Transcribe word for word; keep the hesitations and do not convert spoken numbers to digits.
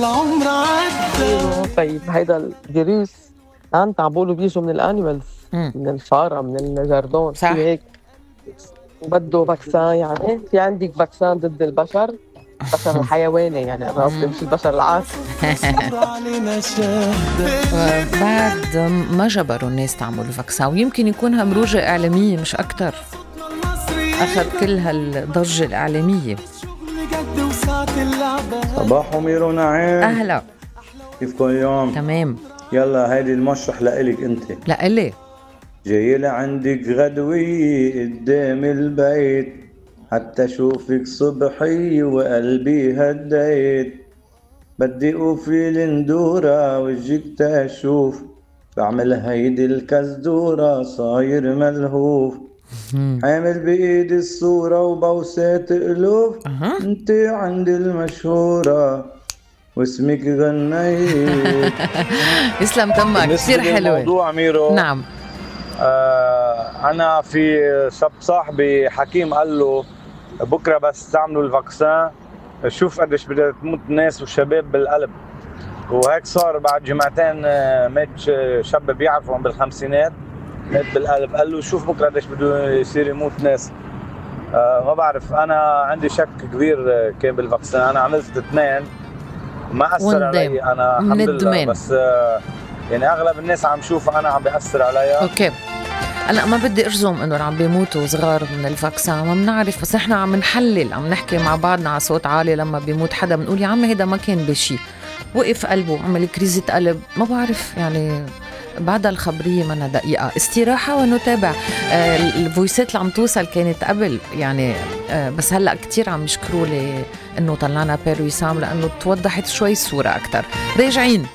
العمر عدى. طيب هيدا الفيروس انت عم بقولوا بيجوا من الانيمالز، من الفاره، من الجردون، صح. في هيك بده فاكسان؟ يعني في عندك فاكسان ضد البشر، البشر الحيواني يعني، انا قصدي مش البشر العادي. بعد ما جبروا الناس تعملوا فاكسان، ويمكن يكون همروجة إعلامية مش أكتر، أخذ كل هالضجة الإعلامية. صباح أمير ونعيم، أهلا. كيفكم اليوم؟ تمام. يلا هيدي المشرح لإلك انت. لإلي جاي لعندك غدوي قدام البيت، حتى شوفك صبحي وقلبي هديت. بدي اوفي الندورة وجهك تشوف، بعمل هيدي الكزدورة صاير ملهوف. حامل بايدي الصورة وبوسات الوف، انت عند المشهورة واسمك غنيت. يسلم تمك، كثير حلوة. موضوع ميرو، نعم. آه أنا في شاب صاحبي حكيم قال له بكرة بس تعملوا الفاكسان شوف قديش بدها تموت ناس وشباب بالقلب. وهيك صار بعد جمعتين، مات شاب بيعرفه بالخمسينات مات بالقلب. قال له شوف بكرة قديش بده يصير يموت ناس. آه ما بعرف، أنا عندي شك كبير كان بالفاكسان. أنا عملت اثنين وما أثر علي أنا الحمد لله، بس آه يعني أغلب الناس عم شوف أنا عم بيأثر عليها. أوكي، أنا ما بدي أرزم إنه عم بيموتوا صغار من الفاكسان، ما بنعرف، بس إحنا عم نحلل، عم نحكي مع بعضنا على صوت عالي. لما بيموت حدا بنقول يا عم هيدا ما كان بشي، وقف قلبه، عمل كريزة قلب، ما بعرف يعني. بعد الخبرية منا دقيقة استراحة ونتابع. آه الفويسات اللي عم توصل كانت قبل يعني، آه بس هلأ كتير عم يشكروا لي إنه طلعنا بير وسام، لأنه توضحت شوي الصورة أكتر. راجعين.